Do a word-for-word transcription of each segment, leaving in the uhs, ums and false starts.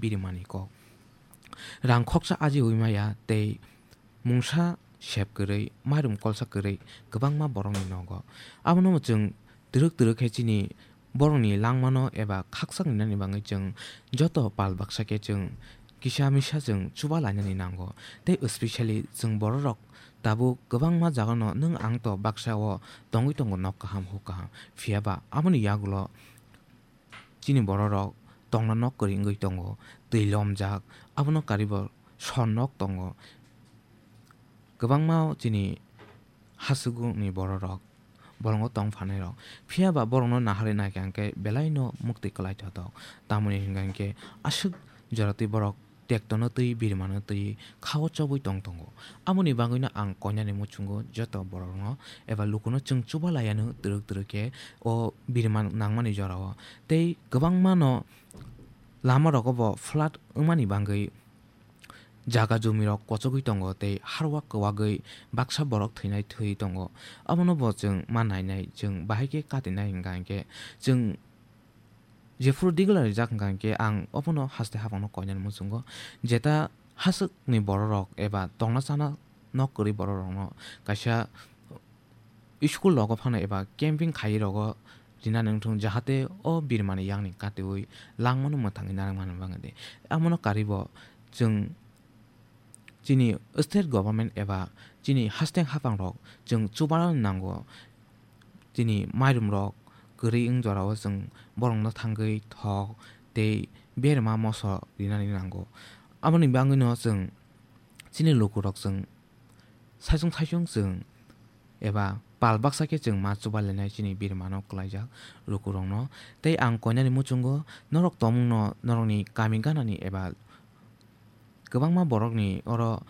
birimani kok. Rang khoksa ajiwi maya tei mungsa sep kwrwi, mairum kolsa kwrwi kwbangma borokni nogo. Abono chwng twrwk twrwk khe chini borokni langmano eba khaksa rinani bagwi chwng joto pal baksa khe chwng kisa misa chwng chuba lainani nango. Tei specially chwng bororok tabuk kwbangma jagano nwng ang to baksa o tongwi tongo nok kaham huk kaham. Phiya ba aboni yagulo chini bororok tongna nok kwrwi wngwi tongo, twi lomjak, abono karibo son nok tongo. Kwbangma chini hasuguni bororok bolongo tong phanai rok. Phiya ba borokno naharwi naikha hwnkhe belai no mukti kwlai thothok. Tamoni hwnkha hwnkhe aswk jora twi borok tektono twi birimano twi khao chobwi tong tongo. Aboni bagwino ang koinani muchungo joto borokno eba lukuno chwng chuba laiya no twrwk twrwk khe o birima nangmani jorao. Tei kwbangma no lama rogo bo flood wngmani bagwi jaga jumi rok kochogwi tongo tei harwa kwbagwi baksa borok thwinai thwi tongo. Abono bo chwng ma nainai, chwng bahai khe katinai hwnkha hwnkhe chwng jephuru digla rijak hwnkha hwnkhe ang obono haste hapangno koinani muchungo. Jeta haswkni bororok eba tongna chana nok kwrwi bororokno kaisa school rogo phano eba camping khaiwi rogo rinani wngthung, jahate o birimani yakni katiwi langmano mwthangwi narwkmani bagwi. Abono karibo chwng chini state government eba chini hasteng hapangrok chwng chubanani nango. Chini mairum rok kwrwi wng jorao chwng borokno thangwi thok tei berma moso rinani nango. Aboni bagwino chwng chini lukurok chwng saichung saichung chwng eba pal baksa khe chwng ma chuba lainai chini birmano kwlaijak lukurokno. Tei ang koinani muchungo norok tongmungno norokni kami ganani eba kwbangma borokni oro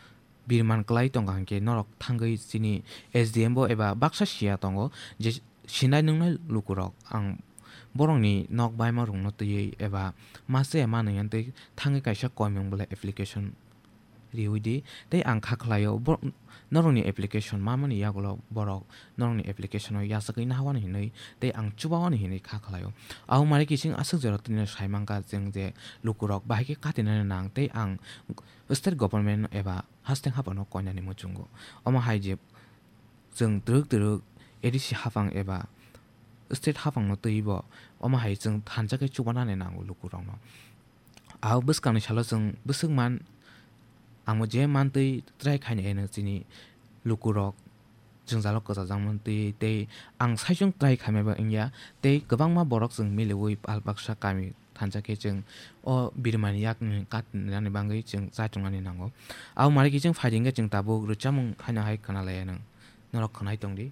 birman kwlai tongkha hwnkhe norok thangwi chini S D M bo eba baksa siya tongo je sinai nungnai lukurok. Ang borokni nok baima rokno twiwi eba ma chaya manwi tei thangwi kaisa koimung belai application riwi di tei ang kha khlaio bo-, norokni application mamani yagulo borok norokni application o yachagwi nahawani hinwi tei ang chubawani hinwi kha khlaio. Abo mari kiching aswk jora tini sai mankha chwng je lukurok bahai khe katinani nang tei ang state government eba hasteng haphangno koinani muchungo. Omo hai je chwng twrwk twrwk A D C haphang eba state haphangno twibo omo hai chwng thansa khe chubanani nango lukurokno. Abo bwskangni salo chwng bwswk man, amo je mantwi try khaina eno chini lukurok jwngjalo kwchajak mantwi tei ang saichung try khaimaba wngya tei kwbangma borok chwng miliwi pal baksa kami thansa khe chwng o birimani yakni katinani bagwi chwng chaitongnani nango. Abo mari kiching phaidi hwnkhe chwng tabuk rwchapmung haino hai khwnalaiya nwng. Norok khwnai tongdi.